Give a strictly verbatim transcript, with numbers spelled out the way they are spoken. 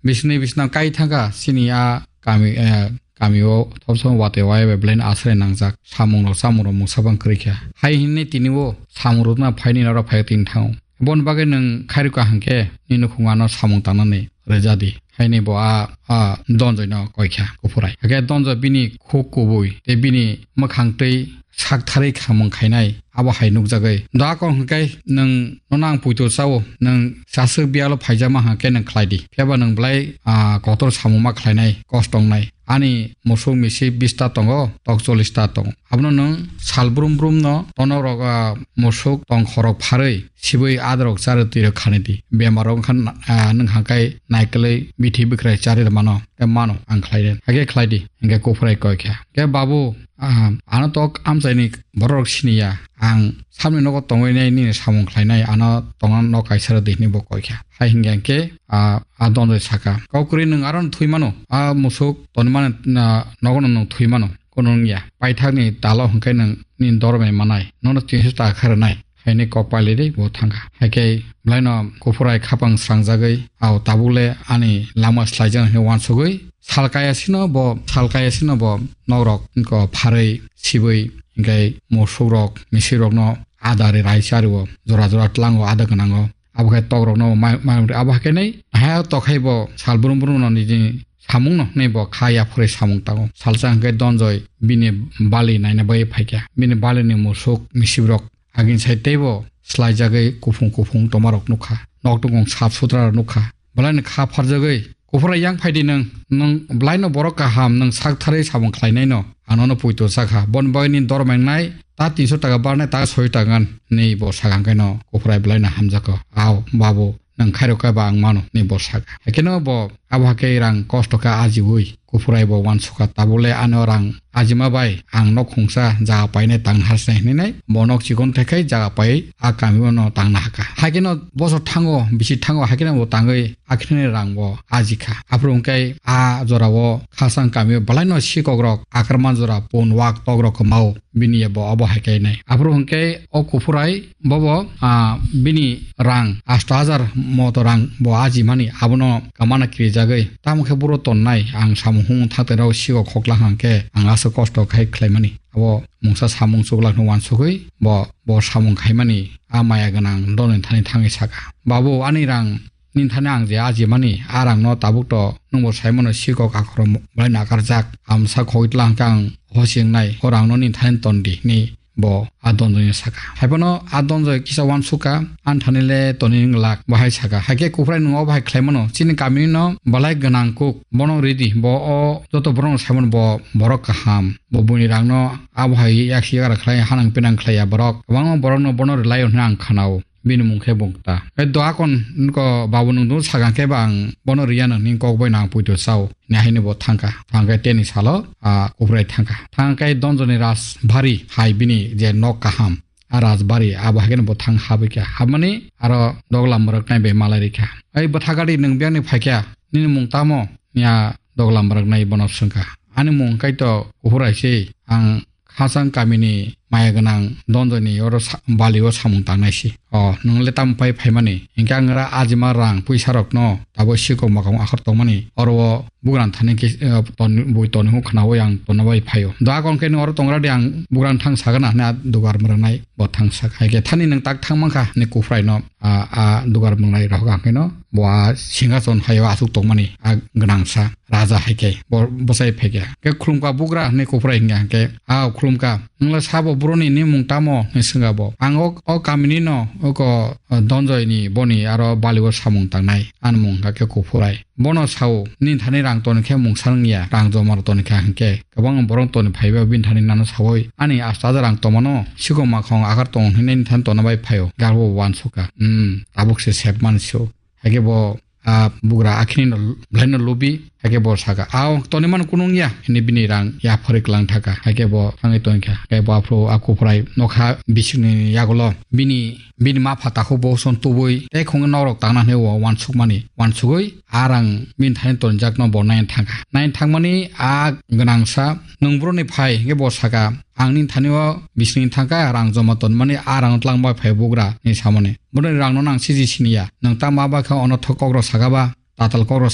Bisni bisna kai thangkha, sini a kami, eh, kami o thopsong watwi waya bai belai no aswrai nangjak. Samung rok, chamung rok mungsa bang kwrwi kha. Hai hinwi tini o samung rok na phaini norok phai tini thango. Boni bagwi nwng khairokha hwnkhe nini nukhung ano samung tangnani rwja di. Haini bo a, a Donjoi no koi kha Kufurai. Hakhe Donjoi bini khuk kubui tei bini mwkhang twi sak tharwi khamung khainai abo hai nukjagwi. Doa kok hwnkhe nwng nono ang puitu chao, nwng chaswk biyalo phaijama hwnkhe nwng khlai di. Phiya ba nwng belai, ah, kotor samung ma khlainai, kosto wngnai. Ani musuk misi bista tongo, tok chollish ta tongo. Abono nwng sal brum brum no tonok rok, ah, musuk tong khorok pharwi sibui adarok charwi twi rok khani di. Bemar rok wngkha, ah, nwng hangkai naikolwi bithi bwkhrai charwi rw mano, tei mano ang khlai di. Hakhe khlai di, hwnkhe Kufurai koi kha. Khe babu, ah, ano tok amchaini borok rok siniya. Ang samni nogo tongwi nai nini samung khlainai, ano tongna nok kaisa rw di, hwnwi bo koi kha. Hai hwnkhe hwnkhe, ah, a Donjoi saka, "Kok kwrwi nwng aro thwi mano, a musuk tonwi mani, ah, nogo no nwng thwi mano." Kono wngya. Paithakni talo hwnkhe nwng nini dormai manai. Nono tinso taka khe rwnai. Haini kok pailidi bo thangkha. Haikhe belaino Kufurai khapang srangjagwi, "Ao tabukle ani lama slaijak," hwnwi uansugwi sal kaya sino bo, sal kaya sino bo nokrok wngkha pharwi sibwi, hwnkhe musukrok, misirokno ada ri rai chario, jora jora tlango, ada gwnango. Abo khe tokrokno mai, mai, abo khe nai, ha, tokhai bo sal brum brum no nini samung no hwnwi bo kha yaphurwi samung tango. Salsa hwnkhe Donjoi bini bali naina bagwi phaikha. Bini balini musuk misibrok agin sai teibo slaijagwi kuphung kuphung tomarok nukha. Nok tongkong sap sutra rok nukha. Belaino kha pharjagwi, "Kufurai, yang phaidi nwng, nwng belaino borok kaham, nwng sak tharwi samung khlainaino ang nono puito sakha. Boni bagwi nini dormai wngnai ta tinso taka barnai, ta soyo taka ngan," hwnwi bo sakha. Hwnkhe no Kufurai belaino hamjakha, "Ao, babu, nwng khairokha ba ang mano," hwnwi bo sakha. Haikheno bo abo hakhe rang kosto khe ajiui Kufurai bo uansukha, "Tabukle ano rang ajima bai ang nok khungsa jaga painai tang harsnai," hwnwi nai bo nok chikon thaikhai jaga pai a kami o no tangna hakha. Haikheno bosor thango, bisi thango, haikheno bo tangwi akhirni rang bo ajikha. Aphuru hwnkhe a jorao khasang kamio belaino sikokrok akrman jora pun wak tokrok kwmao bini bo obo hai khe nai. Aphuru hwnkhe o Kufurai bobo, ah, bini rang asto hajar moto rang bo ajimani abono kamana kirijagwi. Tamo khe buro tonnai ang samung humung thakte rok sikok khokla hwnkhe ang aswk kosto khai khlaimani. Abo mungsa samung chuklak no uansugwi bo, bo samung khaimani a maya gwnang doni thani thangwi sakha, "Babu, ani rang nini thani ang je ajimani, a rangno tabuk to nwngbo saimano sikok akhoro belai nakarjak. Amsa khogwi tlang khe ang hosi wngnai, o rangno nini thani ton di," hwnwi bo a Donjoi no sakha. Haiphano a Donjoi kisa uansukha, "Ani thani le toni wng lak," bo hai sakha. Haikhe Kufurai nwng o bahai khlaimano, "Chini kamini no belai gwnang kuk, bono ridi, bo o joto borokno saimano bo borok kaham. Bo buini rangno abo hai yaksi yagra khlai hanang pinang khlaiya borok. Kwbangma borokno bono rwlaio hwnwi ang khanao." Bini mung khe Bungta. Hai doa kon nokho babu nwng dunu sakha khe ba ang bono riyano hwnwi kok bai nang puito sao. Hwnwi haino bo thangkha. Thangkhe teni salo, ah, Kufurai thangkha. Thangkhe Donjoni Rajbari hai bini je nok kaham. A Rajbari abo haikhe bo thang habikha. Habmani aro dogla mwrwknai bai malai rikha. "Ai bwtha gadi nwng biyangni phaikha. Nini mung tamo?" Hwnwi a dogla mwrwknai bono swngkha. "Ani mung kaitor Kufurai se. Ang khasang kamini maya gwnang Donjoni oro sa-, bali o samung tangnai si. O, nwng le tamo pai phaimani? Hinkhe ang ora ajima rang puisa rokno tabuk sikok makong akhor tongmani. Oro o bugrang thani khe, eh, ton-, bui toni hwn khnaui ang tonna bai phaio. Doa kon khe nwng oro tongra di, ang bugrang thang sagana," hwnwi a dugar mwrwknai bo thang sak. Hai khe thani nwng tak thang mankha hwnwi Kufurai no a, a dugar mwrwknai rohor hwnkhe no bo a singhason hai o aswk tongmani a gwnangsa. Raja hai khe bo bwsai phai khe, khe khulumkha bugra hwnwi Kufurai hwnkha hwnkhe, "A khulumkha, nwng le sabo boroni ni mung tamo?" hwnwi swngkha bo. "Ang o, o kamini no, oko, o, Donjoi ni boni aro bali o samung tangnai, ani mung hwnkha khe Kufurai. Bono sao, nini thani rang toni khe mungsa wngya, rang joma rw toni kha hwnkhe, kwbangma borok toni phai bai bini thani nano saui, ani asto aja rang tongmano, sikok makhong akhar tongo hwnwi nini thani tonna bai phaio." Gabo bo uansukha, "Hmm, tabuk se sep mani se o." Haikhe bo, ah, bugra akhini no, belai no lubi, haikhe bo saka, "Ao, toni mano kunu wngya," hwnwi bini rang yapharwi kwlang thaka. Haikhe bo thangwi tongkha. Haikhe bo aphuru a Kufurai nokha bisingni yagulo bini, bini mapha takhuk bo son tubui tei khungwi nokrok tangna hwnwi o uansukmani. Uansugwi a rang bini thani tonjakno bo naina thangkha. Naina thangmani a gwnangsa nwng boroni phai, hwnkhe bo saka, "Ang nini thani o bisingni thangkha, rang joma tonmani, a rang twlang bai phai bugra," hwnwi samani. Boroni rangno nang siji siniya. Nwng ta ma bai kha ono thok kokrok saka ba, tatal kokrok